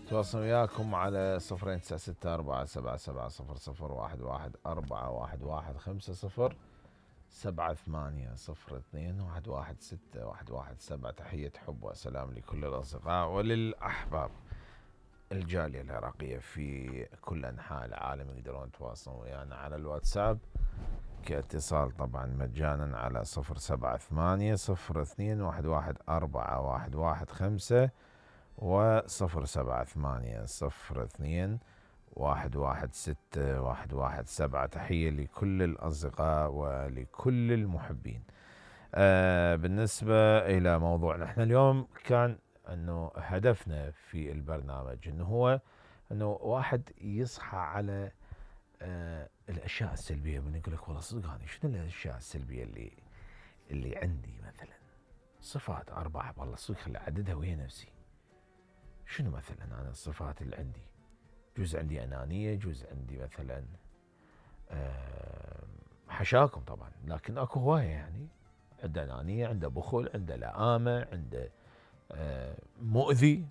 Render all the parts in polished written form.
تواصل وياكم على 02664770011415 7802116117. تحية حب وسلام لكل الأصدقاء وللأحباب. الجالية العراقية في كل أنحاء العالم يقدرون يتواصلون ويانا على الواتساب كاتصال طبعا مجانا على 07802111415 و 07802116117. تحية لكل الأصدقاء ولكل المحبين. بالنسبة إلى موضوعنا احنا اليوم كان انه هدفنا في البرنامج انه هو انه واحد يصحى على الاشياء السلبية. من يقول لك والله صدق هذه شنو الاشياء السلبية اللي عندي مثلا صفات اربعة والله صدق خلي اعددها ويا نفسي. شنو مثلا انا الصفات اللي عندي؟ جزء عندي انانية، جزء عندي مثلا حشاكم طبعا، لكن اكو هواية يعني عنده انانية، عنده بخل، عنده لآمة، عنده مؤذي.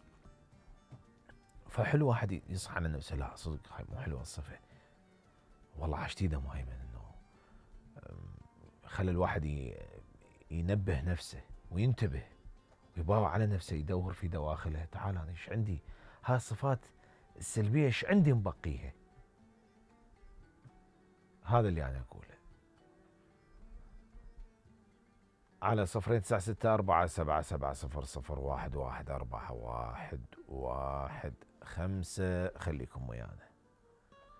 فحلو واحد يصحى على نفسه لا صدق هاي مو حلوة الصفة والله عشتيده مهيمن انه خلي الواحد ينبه نفسه وينتبه ويباوع على نفسه يدور في دواخله. تعال انا ايش عندي؟ هاي الصفات السلبية ايش عندي مبقيها؟ هذا اللي انا اقوله على 02664770011415 خليكم ويانا.